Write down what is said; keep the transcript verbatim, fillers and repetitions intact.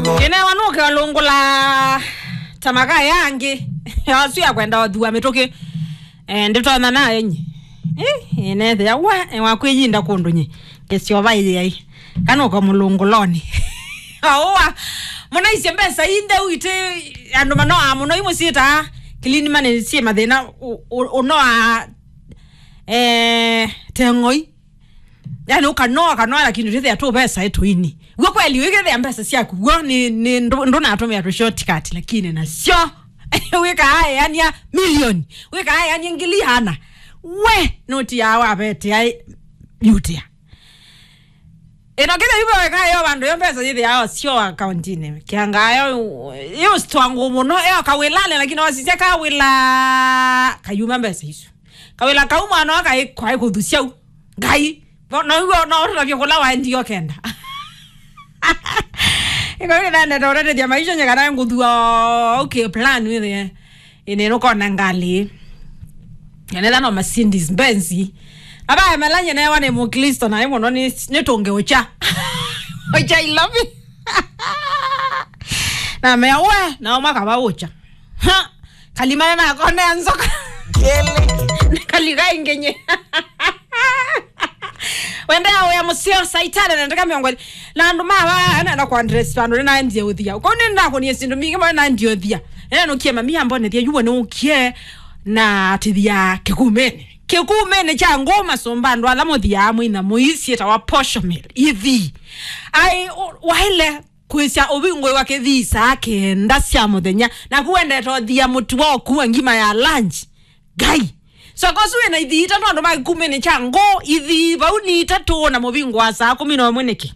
Ĩnewa nũke ũlũngũla ta makaya angĩ. Asu ya kwenda ũthua mĩtũkĩ. Eh, ndĩtonya nayo nye. Eh, ĩnethĩa we, eh, wakwĩyinda kũndũ nye. Kĩsyova ĩyai. Kana ũka mũlũngũlonĩ. Aũa. Mũnaisye mbesa inde uite andũ manoa mũno imũsiĩtaa. Kilini mane sie mathĩna u-, u-, ũnoa, eh, teng'oi. Yani ũkanoa, ũkanoa, lakini ũtĩthĩa tũ mbesa ĩtũini. W'o kweli, wĩkĩthĩa mbesa syaku, w'o nĩ, nĩ ndũ-, ndũnatũmĩa tũ shortcut, lakini nasyo. Wĩkaa eania milioni, wĩkaa eania ngili ana. We, nũtiaa wavetea yutea. Ĩno kĩthĩa yuva weka yo vandũ yo mbesa yĩthĩao syo akauntinĩ. Kĩangaa yo, yo strong mũno, yo kawĩlane, lakini wasisya kawĩla, kayuma mbesa isu. Kawĩla kau mwana wa kaĩ, kwaĩ kũthusyau. Ngai. No, no, no, no, ũtavye kũla waendie ũkenda. Ĩkawĩla nenda ũtetethya maisha nye kana ngũthua, okay, plan wĩthĩe. Ĩnĩ nũkona ngalĩ. Nenda no Mercedes Benz. Aba emelanye newa nĩ Mũkristo na mũno nĩ, nĩ tũnge ũcha. Ũcha ilovi. Na mea we, nao makava ũcha. Ha! Kalimana na kone ya nzoka. Kali kaingenye. Wende ya uya museo saitana na ndaka miongo. Na andu mawa ana na kwa dress pano na ndia uthia. Ko ni ndako ni sindu mingi mwa na ndia uthia. Ena no kie mami ambone thia yuwa no kie na tithia kikumene. Kikumene cha ngoma somba ndo ala muthia amwe na muisi ta wa posho mil. Ithi. Ai, o-, waile kwĩsya ũvingũĩwa kĩthii saa kenda sya mũthenya, naku wendete ũthia mũtuo ũkua ngima ya lunch. Ngai. Soko ũsu wĩna ithii itatũ andũ ma kĩkumĩnĩ kya ngoo, ithii vau nĩ itatũ na mũvingũa saa kũmi na ũmwe nĩkĩ?